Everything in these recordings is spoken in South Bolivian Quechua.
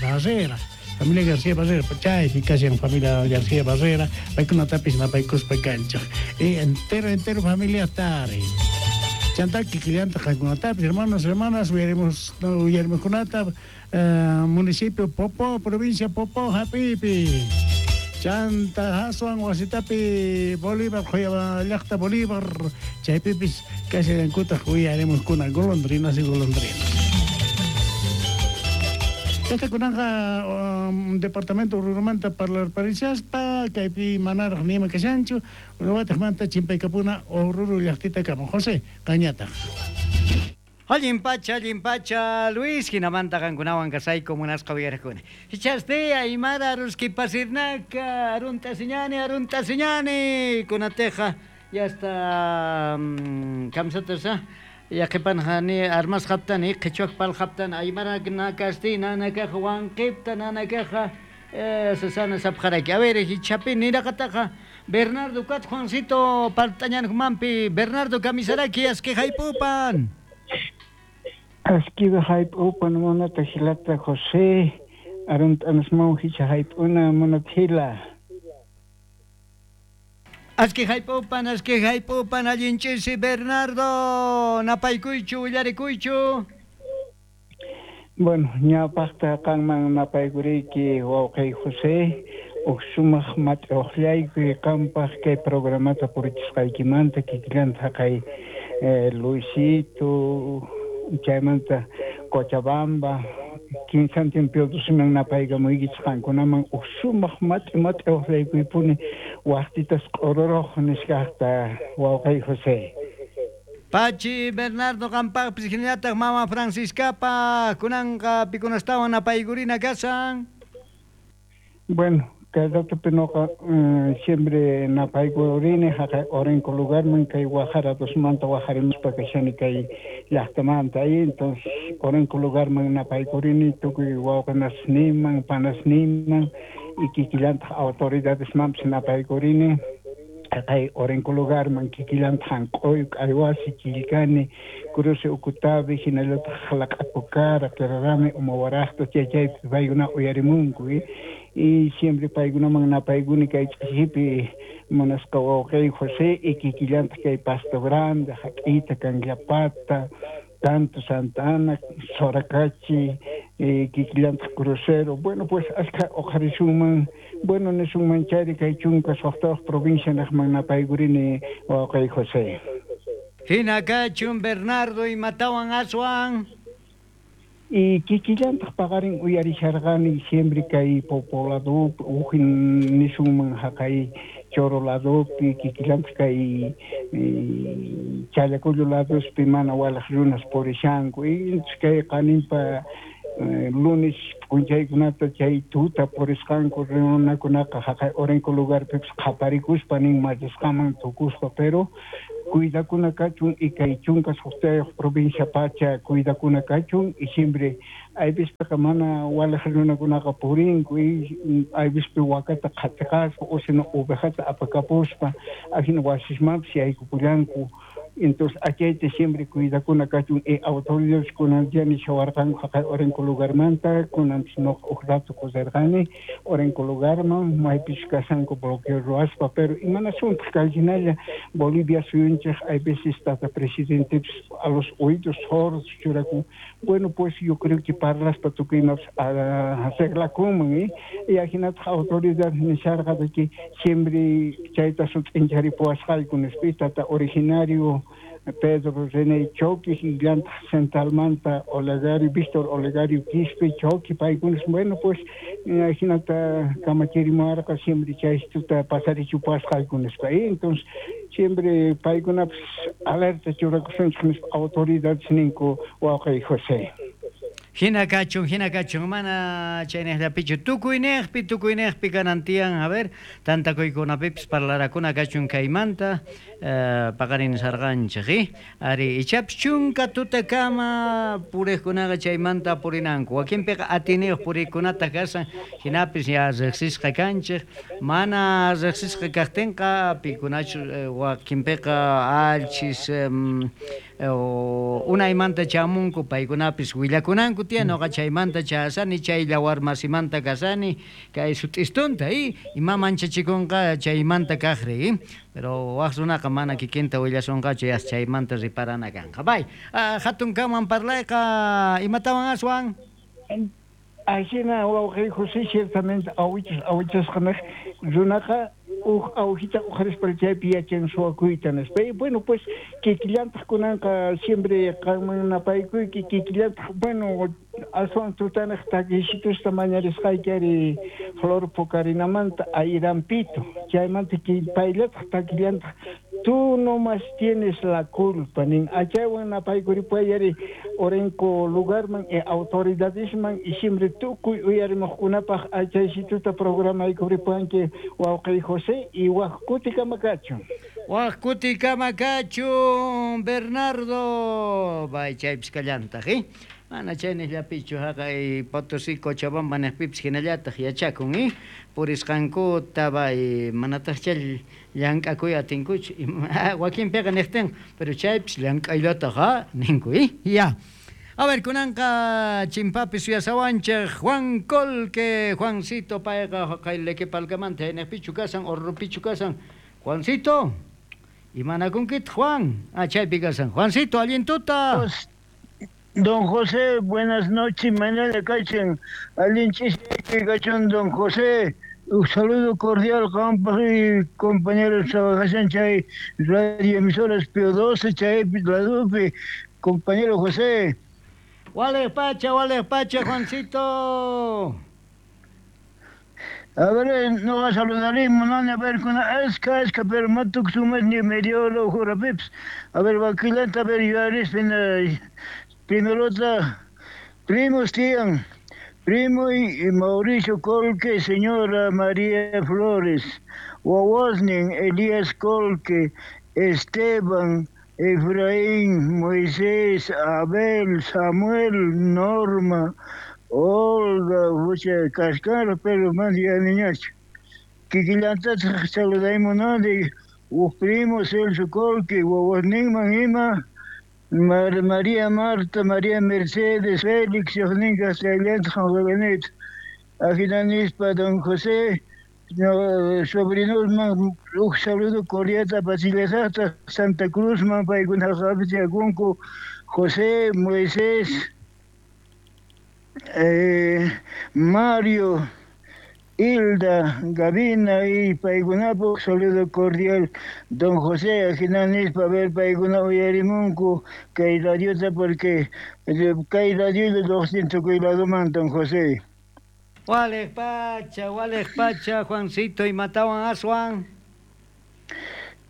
Barrera. Familia García Barrera, chaypi kashan familia García Barrera, paykunatapis napaykuspa kanchej. Y entero, entero familiata ari. Chantá kikillanta qankunatapis, hermanos, hermanas, uyarimos, uyarimoskunata, municipio Popó, provincia Popó, hap'iypi. Chanta aswan wasitapi Bolívar, llajta Bolívar, chaypipis kashallankutaj uyarimuskuna golondrinas y golondrinas. Chayta kunanqa departamento Oruromanta parlarparishaspa, kaypi manaraj nima kashanchu, watejmanta chimpaykapuna Oruro llajtitakama. José, qañataj. Allin pacha, Luis, hinamanta qankunawan kasayku munasqa uyarikuna. Hichaste aymara ruskipasirnaka, arunta siñani, arunta siñani, kunateja, ya está kamsatasa. Yaqipanjani armas haptani, qhichwak pal haptan, aymara nakasti, nanakaja, wanqipta, nanakaja, Susana sapjaraki. A ver, hichapi niraqataqa, Bernardo Kat Juancito Paltañanjmanpi, Bernardo Kamisaraki, aski haypupan. Askiba haypupan munata hilata José, aruntanismau hicha haypuna munat hila. Aski haypupan, allinchisi Bernardo, napaykuychu, willarikuychu. Bueno, ñawpaqta qanman napaykuriyki wawqi José, uj sumaq mat'uqllaykuy qanpaq kay programata purichisqaykimanta kikillanta haqay Luisito, chaymanta Cochabamba, kinsantin Piotosiman napaykamuykichis qankunaman uj sumaq mat'i mat'uqllaykuypuni waqtitas q'ururoj nisqaqta wawqi José. Pachi Bernardo qampaqpis hinallataq mama Franciscapa kunanqa pikunastawan napaykurina kasan. Bueno, kay ratopi noqa siempre napaykurini haqay Orenco lugarman kay Guajara dosmanta wajarimuspa kashani kay llaqtamanta ahí, entonces Orenco lugarman napaykurini tukuy wawqinasniman, panasniman y kikillantaq autoridadesmanpis napaykurini haqay Orenco lugarman kikillantaq hanq'uyu, K'aywasi, Chillkani, Cruce Ucutavi, hinallataq Jalaq'apukara, Querarami, Umawaraqta, chay chaypi paykuna uyarimunku, y siempre paykunaman napaykuni kay ch'isipi munasqa wawqiy José y kikillantaq kay Pasto Grande, Haq'ita, Canllapata, Tanto Santa Ana, Soracachi, kikillantaq Crucero. Bueno, pues ashka uqharisunman, bueno, nisunman chayri kay chunka suqtayuq provincia naqman napaykurini wawqiy José. Hina kachun Bernardo imatawan aswan. Y kikillantaq paqarin uyarisharqani siempre kay Popoladopi, uj nisunman haqay Choro ladopi, kikillantaq kay Challacollo ladospi mana walaq runas purishanku. Y kay qaninpa lunes p'unchaykunata chay tuta purisqanku runakunaqa haqay Orenco lugarpipis qhaparikuspa nin machisqaman tukuspa, pero cuidakuna kachun y kay chunka suqtayuq provincia pacha cuidakuna kachun y siempre aypispiqa mana walaq runakunaqa purinku y aypispi wakata qhatiqaspa o sino ovejata apakapuspa ajina wasismanpis yaykupullanku. Entonces achayta siempre cuidakuna kachun y autoridades kunan ya nishawarqanku haqay Orenco lugarmanta, kunanpis noqa uj rato kusarqani Orenco lugarman maypis kashanku bloqueo ruwaspa, pero imanasuntaq kay hinalla Bolivia suyunchik hay veces tata presidentepis a los oídos sordos churakun. Bueno, pues yo creo que parlaspa tukuymapis arreglakunman, y ajinataq autoridad nisharqa de que siempre chayta sut'incharipuwasqayku nispa, y tata originario Pedro René Choqui, llantaq centralmanta Olegario, Víctor Olegario Quispe Choqui, paykunas, bueno, pues ajinata kamachirimuwarqa siempre chaystuta pasarichupasqayku nispa, y entonces siempre paykunapis alerta churakusunchik nispa autoridades ninku wawqiy José. Hina kachun, mana chaynejllapichu, tukuynejpi kanantiyan, a ver, tantakuykunapipis parlarakuna kachun kaymanta, paqarin sarqanchik, ari ichapis chunka tutakama purejkunaqa chaymanta purinanku, wakinpiqa atiniyuq puriykunata kasan, hinapis ya riqsisqa kanchik, mana riqsisqa kaqtinqa pikunachu wakinpiqa alchis Unaymanta chamunku paykunapis willakunanku tiyan noqa chaymanta chayasani chay llawarmasimanta kasani kay sut'istunta ima manchachikunqa chaymanta kaqri pero waq runaqa mana kikinta willasunqachu yas chaymanta riparana kanqa. Bay, hatun kanman parlayqa imatawan aswan? Ajina wawqi José ciertamente awichus awichasqa nej runaqa uj awjita uqharispa chaypi yachan suwakuyta nispa. Y bueno, pues kikillantaq kunanqa siempre qanman napaykuyki kikillantaq bueno aswan tutanej takisitusta mañarisqayki ari Flor Pukarinamanta Ayrampito chaymanta payllataq takillantaq tú nomás tienes la culpa nin achaywan napaykuripay ari Orenco lugarman e autoridadisman y siempre tukuy uyarimuqkunapaq achaysituta programaykuripwanki wawqi José y waq kutikama kachun. Waq kutikama kachun Bernardo bay chaypis kallantaq mana chayniqllapichu haqay Potosí Cochabamba niqpipis hinallataq yachakun purisqankuta bay manataq chay llank'akuy atinkuchu wakinpiqa niqtin pero chaypis llank'ayllataq ninku ya. A ver, kunanqa chimpapi suyasawanchik Juan Colque, Juancito payqa haqay Lequepalcamanta niqpichu kasan Orropichu kasan. Juancito, imanakunkitaq Juan? Chaypi kasan. Juancito, allin tuta. Don José, buenas noches, mañana kachin, allin ch'isiyki kachun, don José, un saludo cordial, compas y compañeros trabajan chay radio emisoras Pío 12, chay Ladupi, compañero José. Wale pacha, Juancito. A ver, no va a saludaremos, no, a ver, con esca, pero matuk sumas ni medio lo jurapips. A ver, vaquilanta, a ver, yo primero primos tían, primo y Mauricio Colque, señora María Flores, Wawasnin, Elías Colque, Esteban, Efraín, Moisés, Abel, Samuel, Norma, Olga, Fucha, Cascar, pero más ya niñacho. Kikilanta saludamos, ¿no? De primo Celso Colque, Wawasnin, Manima, María Marta, María Mercedes, Félix, Yohnin, Castellant, Juan Ajinanispa, don José, sobrinos, un saludo cordial a Pasilesata, Santa Cruz, man, José, Moisés, Mario, Hilda, Gabina y Paigunapo, saludo cordial, don José, Ajinanispa, ver Paiguna Uyarimunku, que radiota porque que radio de 200 que don José. Wale pacha, Juancito, y mataban a Juan.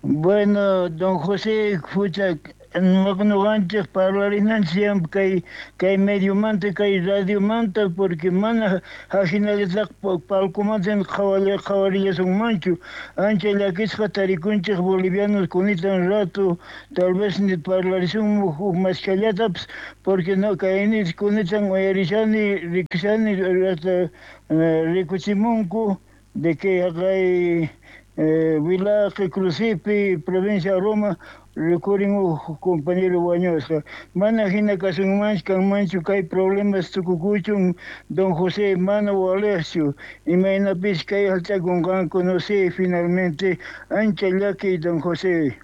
Bueno, don José, escucha, no antes para siempre que hay medio manta, que hay radio manta, porque mana ajinalizak palcomanten javalillas un mancho, ancha la que es jatariconches bolivianos con tan rato, tal vez ni parlarizun más callataps, porque no caen con tan oyarizani, rixani, hasta ricuchimunco, de que hay Vilaje, Crucipi, provincia de Roma, recuerden un compañero Guañosa. Mana hina kasunmanch kanmanchu kay problemas tukukuchun don José Mano Alessio y maynapis kay alchakunqanku no sé finalmente ancha llaki don José.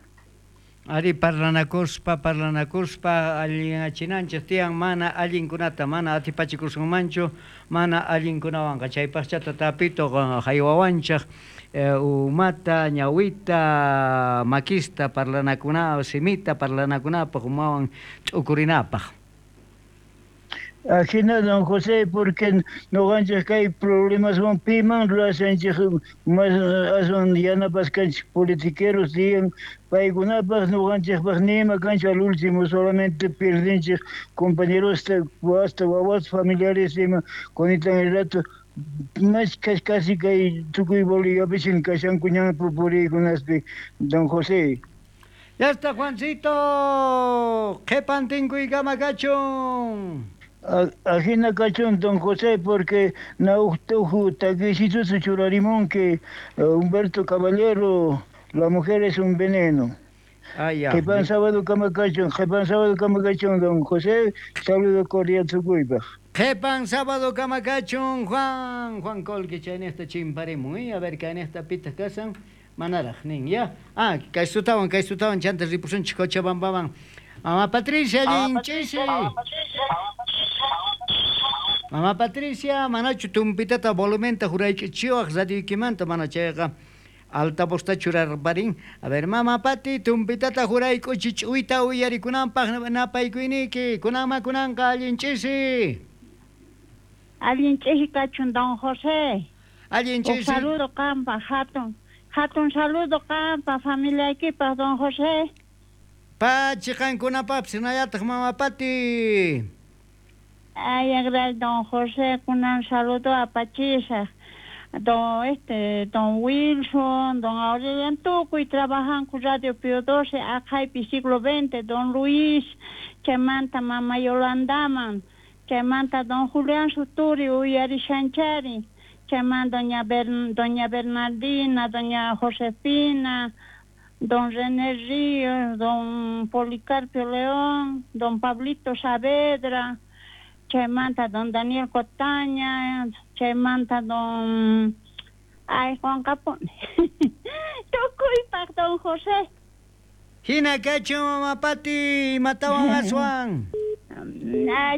Ari parlanakuspa allinachinanchik tiyan mana allinkunata mana atipachikusunmanchu mana allinkunawanqa chaypaqchata tapito haywawanchik umata ñawita makista parlanakuna simita parlanakunapaq umawan ch'ukurinapaq. Ajina don José, porque noqanchik kay problemas van piman ruwashanchik mas aswan yanapaskanchik politiqueros digan paykunapaq noqanchikpaq nima kanchu al último solamente perdinchik compañeros hasta wawas familiares ima kunitan el rato más casi kay tukuy Boliviapi kashanku ñan puriykunaspi don José. Ya está Juancito, qhipantinkuykama kachun. Ajina kachun don José, porque nauhtuju takisitusu churarimón que Humberto Caballero, la mujer es un veneno. Qhipan sábado kama kachun, qhipan sábado kama kachun, don José, saludo cordial tukuypaq. Qhipan sábado kama kachun, Juan, Juan Colque chaynejta chimparimun, a ver kaynejta pitaq kasan, manaraj nin, ya. Ah, kaystutawan, kaystutawan chanta ripusunchik Cochabambaman. Mama Patricia, allin ch'isi. Mama Patricia, manachu tumpitata volumenta juraych'ichiwaq radioykimanta, mana chayqa altavozta churarparin. A ver, Mama Pati, tumpitata jurayk'uchi ch'uyta uyarikunanpaq napaykuyniyki. Kunanma kunanqa allin ch'isi. Allin ch'isi kachun, don José. Allin ch'isi. Saludo qanpaq, hatun, hatun saludo qanpaq, familiaykipaq, don José. Pachi qankunapapis hinallataq Mama Pati. Ay, gracias, don José, kunan saludo apachisaq. Don este, don Wilson, don Aurelian tukuy trabajanku Radio Pío XII, aqhaypi siglo XX, don Luis, chaymanta mama Yolandaman, chaymanta don Julián Suturi uyarishanchari, chaymanta doña doña Bernardina, doña Josefina, don René Ríos, don Policarpio León, don Pablito Saavedra, chaymanta don Daniel Cotaña, chaymanta don... Ay, Juan Capone. Tukuypaq, don José. Hina kachun, Mama Pati, imatawan aswan.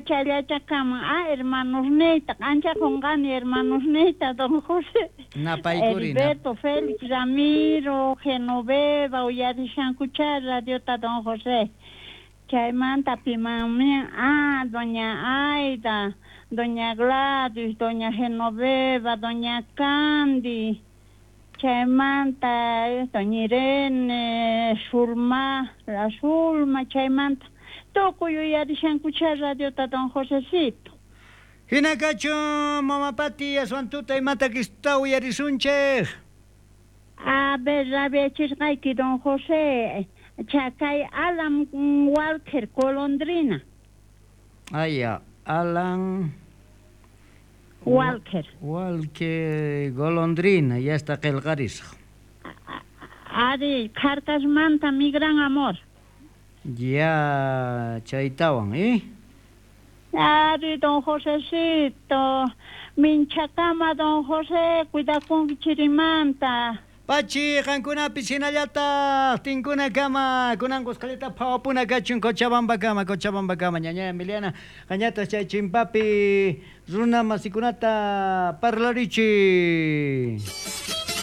Chayllachakaman, ah, hermanosniyta, ancha qunqani hermanosniyta, don José. Napaykuri. Heriberto, Félix, Ramiro, Genoveva, uyarishankucha radiota, don José. Chaymanta pimanmi, ah, doña Aida, doña Gladys, doña Genoveva, doña Candy, chaymanta doña Irene, Zulma, la Zulma, chaymanta. Tukuy uyarishankucha radiota, don Josecito. Hina kachun, Mama Pati, aswan tuta imata kistuta uyarisunchej. A ver, rabiachisqayki, don José, chakay Alan Walker, Golondrina. Aya, Alan Walker. Walker, Golondrina, ya está qillqarisqa. Ari, Carcasmanta, mi gran amor. Ya, chaytawan, ¿eh? Ari, don Josecito, minchakama, don José, cuidakunki chirimanta. Pachi, qankunapis hinallataq, tinkunakama, kunan qusqallata phawapuna kachun Cochabambakama, Cochabambakama, ñaña Emiliana, qañataq chay chimpapi runa masikunata parlarichi.